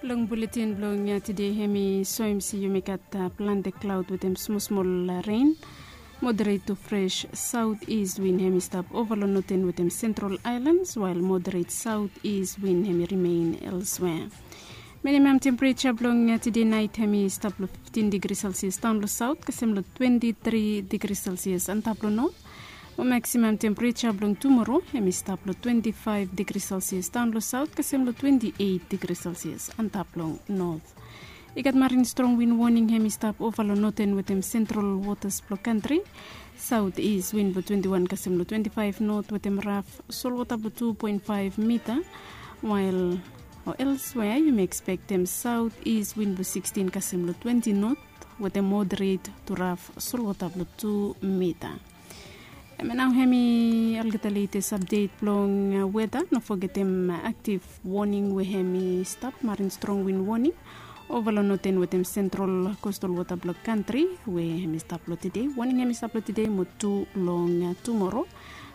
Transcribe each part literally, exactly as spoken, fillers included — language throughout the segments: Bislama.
Long buletin blong tide hem i soem se yumi gat plante klaod wetem smosmol ren. Moderet tu fres saot is win hem i stap ova long noten wetem sentral aelans wael moderet saot is win hem i rimen elswea. Minimam tempereja blong tide nait hem i stap long fiftin digri selsias daon long saot kasem long twenti tri digri selsias antap long not. Mo maksimam tempereja blong tumoro hem i stap long twenti faef digri selsias daon long saot kasem long twenti eit digri selsias antap long not. I gat marin strong win woning hem i stap ova long noten wetem sentral wotas blong kantri. Saot is win blong twenti wan kasem long twenti faef not wetem raf solwota blong tu poen faef mita. Wael o elswea yumi ekspektem saot is win blong sikstin kasem long twenti not wetem moderet tu raf solwota blong tu mita. Em nao hem i olgeta letes apdet blong weta. No fogetem aktiv woning we hem i stap marin strong win woning ova long noten wetem sentral kostal wota blong kantri we hem i stap long tide. Woning hem i stap long tide mo tu long tumoro.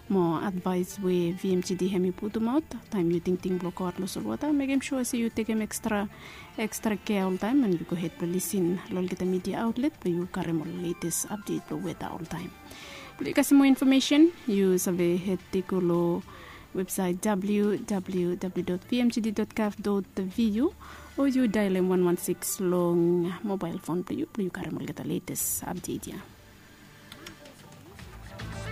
Mo advaes we vmgd hem i putumaot taem yu tingting blong goaot long solwota mekem sua se yu tekem ekstra ekstra kea oltaem and yu gohed blong lisin long olgeta midia aotlet blong yu karem ol letes apdet blong weta oltaem. Blong yu kasem moa infomesen yu save hed i go long websaet www vmgd gov vu o yu daelem wan wan siks long mobael fon blong yu blong yu karem olgeta letes apdet ya.